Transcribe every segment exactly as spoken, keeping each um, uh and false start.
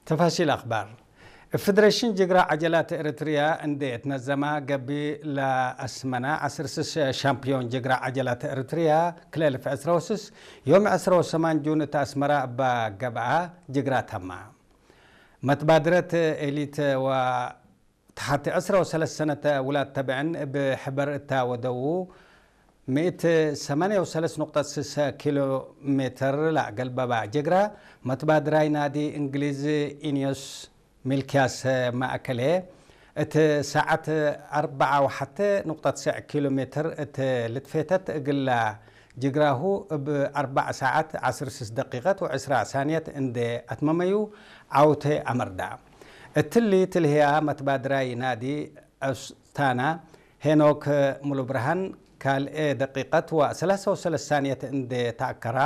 ተፋሲል አክባር። እብ ፌደሬሽን ጅግራ ዐጀላት ኤረትርያ እንዴ ትነዘማ ገብእ ለአስመና ዐስር ስስ ሻምፕዮን ጅግራ ዐጀላት ኤረትርያ ክለ እልፍ ዕስራ ወስስ ዮም ዕስራ ወሰማን ጁን እት አስመራ እባ ገብአ ጅግራ ተማ። መትባድረት ኤሊት ወ ተሐቲ ዕስራ ወሰለስ ሰነት ውላድ ተብዕን እብ ሕበር እታ ወደዉ፣ ምእት ሰማንያ ወሰለስ ኑቅጠት ስስ ኪሎ ሜትር ለአገልበባ ጅግራ፣ መትባድራይ ናዲ እንግሊዝ ኢንዮስ ሚልክያስ ማእከሌ፣ እት ሰዓት አርበዓ ወሐቴ ኑቅጠት ስዕ ኪሎ ሜትር እት ልትፌተት እግላ ጅግራሁ እብ አርበዕ ሰዓት ዐስር ስስ ደቂቀት ወዕስራ ሳንየት እንዴ አትመመዩ፣ ዐውቴ አመርዳ። እትሊ ትልህያ መትባድራይ ናዲ አስታና ሄኖክ ሙሉብርሃን ካልኤ ደቂቀት ወሰላሳ ወሰለስ ሳንየት እንዴ ተአከራ፣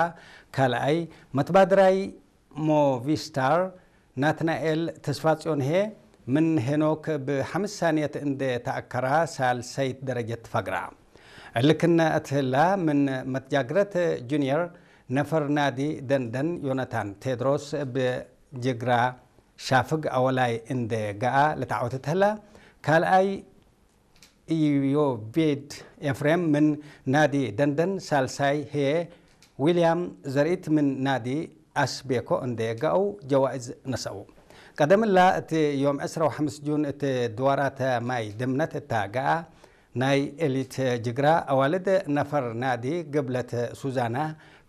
ካልአይ መትባድራይ ሞቪስታር ናትናኤል ተስፋጽዮን ህዬ፣ ምን ሄኖክ ብሐምስ ሳንየት እንዴ ተአከራ፣ ሳልሰይት ደረጀት ፈግራ። እሊ ክነ እት ህላ፣ ምን መትጃግረት ጁንየር ነፈር ናዲ ደንደን ዮናታን ቴድሮስ እብ ጅግራ ሻፍግ አወላይ እንዴ ገአ ለተዐወተ እት ህላ፣ ካልአይ ኢዮቤድ ኤፍሬም ምን ናዲ ደንደን፣ ሳልሳይ ህዬ ዊልያም ዘርኢት ምን ናዲ አስቤኮ እንዴ ገአው ጀዋእዝ ነሰአው። ቀደም እላ እት ዮም ዕስራ ወሐምስ ጁን እት ድዋራተ ማይ ድምነት እታ ገአ ናይ ኤሊት ጅግራ አዋልድ ነፈር ናዲ ግብለት ሱዛና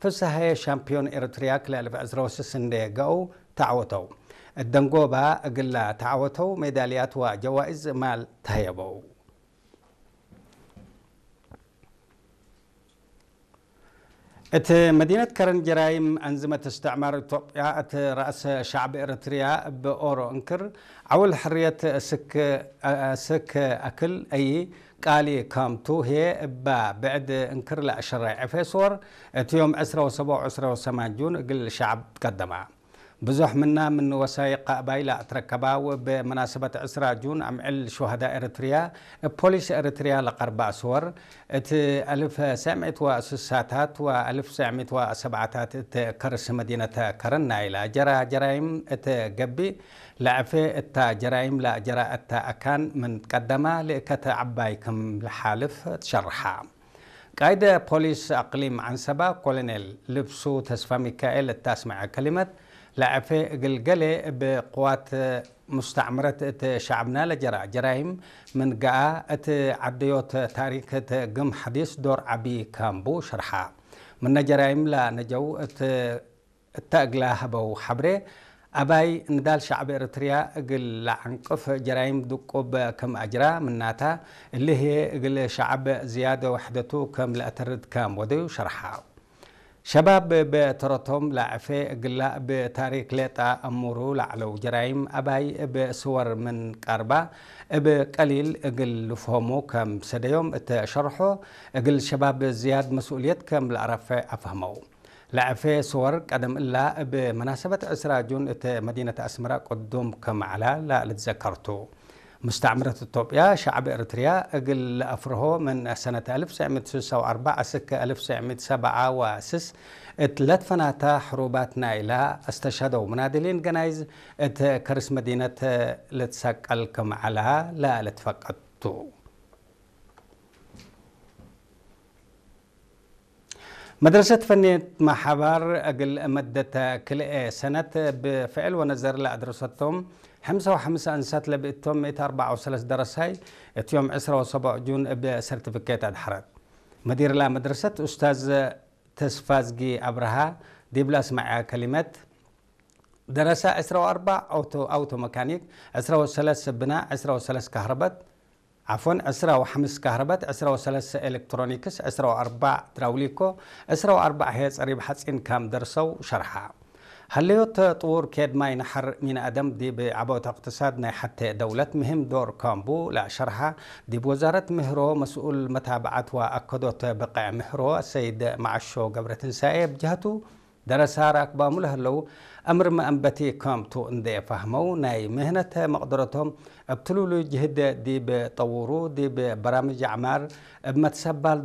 ፍስሃየ ሻምፕዮን ኤረትርያ ክልኤ አልፍ ዕስራ ወስስ እንዴ ገአው ተዐወተው። እት ደንጎባ እግላ ተዐወተው ሜዳልያት ወጀዋእዝ ማል ተህየበው። እት መዲነት ከረን ጀራይም አንዝመት እስትዕማር ኢትዮጵያ እት ረአስ ሸዕብ ኤረትርያ እብ ኦሮ እንክር ዐውል ሕርየት ስክ፣ ስክ አክል አይ ቃሊ ካምቱ ህዬ እባ ብዕድ እንክር ለአሸራይ ዕፌ ስወር እት ዮም ዕስራ ወሰብዕ ወዕስራ ወሰማን ጁን እግል ሸዕብ ትቀደማ። ብዙሕ ምና ምን ወሳይቅ አባይ ለአትረከባ ወእብ መናሰበት ዕስራ ጁን አምዕል ሹሀዳእ ኤረትርያ እብ ፖሊስ ኤረትርያ ለቀርባ ስወር፣ እት አልፍ ሰዕ ምእት ወስሳታት ወአልፍ ሰዕ ምእት ወሰብዓታት እት ከርስ መዲነት ከረን ናይላ ጀራ ጀራይም እት ገብእ ለዐፌ እታ ጀራይም ለአጀራ እተ አካን ምን ትቀደማ ልእከት ዐባይ ክም ለሓልፍ ትሸርሓ። ቃይድ ፖሊስ አቅሊም ዐንሰባ ኮሎኔል ልብሱ ተስፋሚካኤል እት አስመዐ ከሊመት፣ ለዐፌ እግል ገሌ እብ ቅዋት ሙስተዕምረት እት ሸዕብና ለጀራ ጀራይም ምን ገአ፣ እት ዐደዮት ታሪክ እት ግም ሐዲስ ዶር ዐቢ ካምቡ ሸርሓ። ምነ ጀራይም ለነጀው እት እተ እግላ ሀበው ሐብሬ፣ አባይ ንዳል ሸዕብ ኤረትርያ እግል ለዐንቅፍ ጀራይም ድቁብ ክም አጅራ፣ ምናታ እሊ ህዬ እግል ሸዕብ ዝያድ ወሕደቱ ክም ለአተርድ ክም ወደዩ ሸርሓ። ሸባብ እብ ተረቶም ለዐፌ እግላ እብ ታሪክ ሌጠ አሙሩ ለዐለው ጀራይም አባይ እብ ስወር ምን ቀርባ እብ ቀሊል እግል ልፍሆሙ ክም ሰደዮም እተ ሸርሖ፣ እግል ሸባብ ዝያድ መስኡልየት ክም ለአረፌ አፍህመው። ለዐፌ ስወር ቀደም እላ እብ መናሰበት ዕስራ ጁን እት መዲነት አስመረ ቅዱም ክም ዐላ ለልትዘከር ቱ። ሙስተዕምረት ኢትዮጵያ ሸዕብ ኤረትርያ እግል ለአፍርሆ ምን ሰነት አልፍ ሰዕ ምእት ስሳ ወአርበዕ እስክ አልፍ ሰዕ ምእት ሰብዓ ወስስ እት ለትፈናተ ሕሩባት ናይላ አስተሸሀደው ምናድሊን ገናይዝ እት ከርስ መዲነት ልትሰቀል ክም ዐላ ለልትፈቀድ ቱ። መድረሰት ፈንየት መሓባር እግል መደት ክልኤ ሰነት ብፍዕል ወነዘር ለአድረሰቶም ሐምሳ ወሐምስ አንሳት ለብእቶም ምእት አርበዓ ወሰለስ ደረሳይ እት ዮም ዕስራ ወሰብዕ ጁን እብ ሰርቲፊኬት አድሐረት። መዲርላ መድረሰት ኡስታዝ ተስፋዝጊ አብርሃ ዲብለ አስመዐ ከሊመት፣ ደረሰ ዕስራ ወአርበዕ አውቶ፣ አውቶ መካኒክ፣ ዕስራ ወሰለስ ብና፣ ዕስራ ወሰለስ ካህረበት፣ ዐፍወን፣ ዕስራ ወሐምስ ካህረበት፣ ዕስራ ወሰለስ ኤሌክትሮኒክስ፣ ዕስራ ወአርበዕ ድራውሊኮ፣ ዕስራ ወአርበዕ ህዬ ጸሪብ ሐጺን ካም ደርሰው ሸርሐ። ሀለዮት ጥዉር ኬድ ማይ ነሐር ሚን አደም ዲብ ዐቦት እቅትሳድ ናይ ሐቴ ደውለት ምህም ዶር ካምቡ ለሸርሐ፣ ዲብ ወዛረት ምህሮ መስኡል መታብዐት ወአከዶት ብቅዕ ምህሮ አሰይድ መዐሾ ገብረትንሳኤ እብ ጀሀቱ፣ ደረሳ ራክባሙ ለህለው አምር መአንበቲ ካምቱ እንዴ ፈህመው፣ ናይ ምህነት መቅደረቶም እብ ትሉሉ ጅህድ ዲብ ጠውሩ፣ ዲብ በራምጅ አዕማር፣ እብ መትሰባል